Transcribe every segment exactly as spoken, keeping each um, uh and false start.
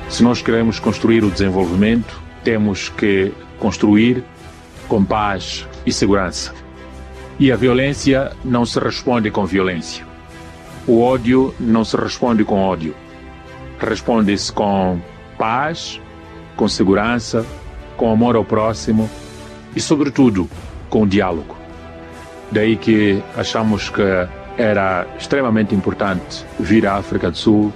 Se nós queremos construir o desenvolvimento, temos que construir com paz e segurança. E a violência não se responde com violência. O ódio não se responde com ódio. Responde-se com paz, com segurança, com amor ao próximo e, sobretudo, com diálogo. Daí que achamos que era extremamente importante vir à África do Sul,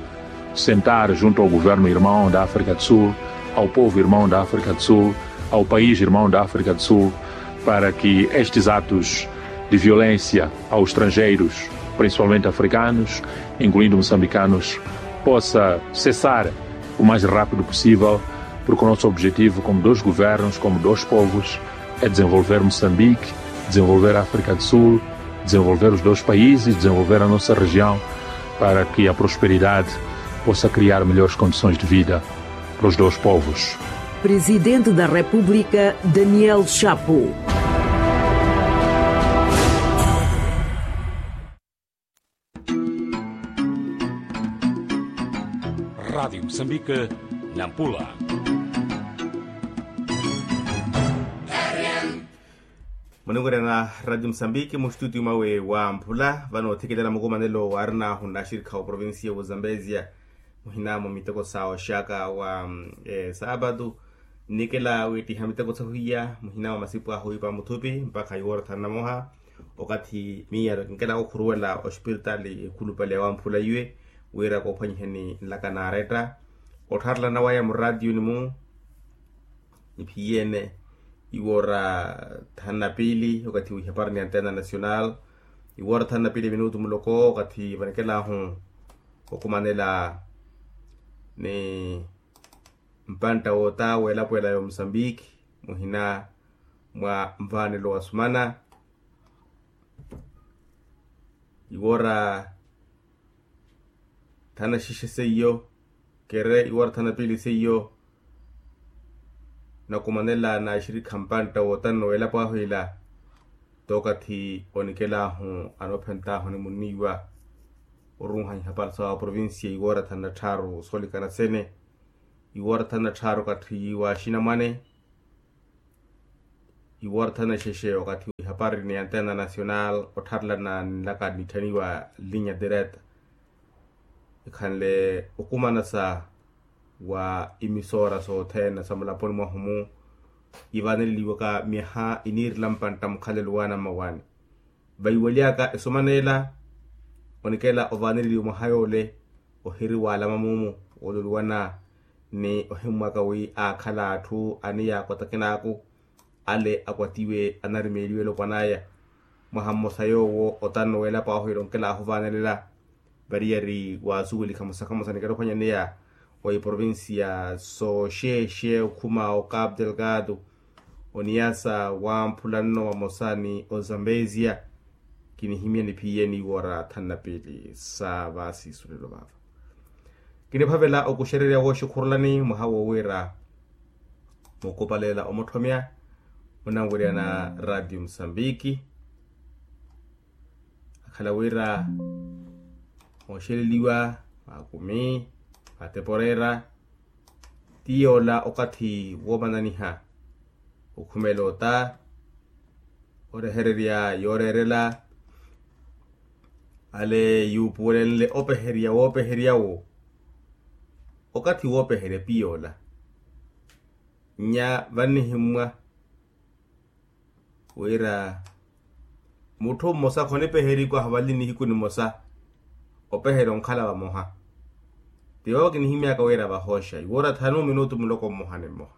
sentar junto ao governo irmão da África do Sul, ao povo irmão da África do Sul, ao país irmão da África do Sul, para que estes atos de violência aos estrangeiros, principalmente africanos, incluindo moçambicanos, possa cessar o mais rápido possível, porque o nosso objetivo, como dois governos, como dois povos, é desenvolver Moçambique, desenvolver a África do Sul, desenvolver os dois países, desenvolver a nossa região, para que a prosperidade possa criar melhores condições de vida para os dois povos. Presidente da República, Daniel Chapo. Rádio Moçambique, Nampula. Muningurena Rádio Moçambique, mu estúdio mwawe wa Mphula, vano othikilana mukumanelo waarinahu n'axirikha wa provincia wa Zambezia, muhina mwa miteko sa oxaka wa, mm, eh, sábado, nnikela wiittiha miteko sahuiya, muhina mwa masipu ahu ipa muthupi, mpakha iwoora thanu na moha, okathi miya kinkela okhuruwela ospiritaali ekhulupale wa Mphula iwe, wira koophwanyiheni nlaka naaretta, ottharelana waya muraatiyuni-mu, niphiyeene, iwoora thanu na piili, okathi wihapari ni Antena Nacional, iwoora thanu na piili minutu muloko, okathi vanikelahu okumanela ni mpantta woota w'elapo ela ya Mosambiki, muhina mwa nvaanelo wa sumana, iwoora thanu na xexe seiyo, kere iwoora thanu na piili seiyo, nakumanela n'axirikha mpantta wootano w'elapo ahu ila, t'okathi onikelahu anoophent'ahu animuniiwa, oruuha ihapari sa provincia iwoora thanu na tthaaru soolikana sene, iwoora thanu na tthaaru okathi wa axinamwane, iwoora thanu na xexe okathi ihapari ni Antena Nacional ottharelana nlaka nitthaniwa linya direta, ikhanle okumanasa wa imisora sothene sa mulaponi mwahu-mu, ivaneleliwaka myaha iniirela mpantta mukhalelo waana mmawaani. Vaiweliyaka esuman'ela, onikela ovaaneliwa mwaha yoole, ohiri waalama muumu, woololiwana ni ohimmwaka wi aakhala atthu aniyaakotakin'aku, ale akwatiwe anarimeeliwe elopwan'aya. Mwaha mmosa yoowo otano w'elapo ahu ila onkela ahuvaanelela, variyari waasuwelikha mosakha mmosa nikela ophwanyaneya wa iprovincia sooxeexe okhuma o Cabo Delgado, oniyasa wamphula nno vamosa ni ozambezia. Kinihimya niphiye ni iwoora thanu na piili sa vaasiisulelo vaava. Kiniphavela okuxererya wooxikhurulani mwaha wo wira mukupalela omutthomya munanwerya na radio musambiki. Akhala wira mooxeleliwa maakumi mateporera ti yoola okathi woomananiha okhumela ota orehererya yooreerela ale yuupuwelenle opeherya woopeherya wo. Okathi woopeherya piyoola nya vannihimmwa wira mutthu mmosa khonipeherikwaahu vali nihiku nimosa opeherya onkhala vamoha. Tivo kinihimyaka wira vahooxa iwoora thanu minutu muloko mmoha ni mmoha.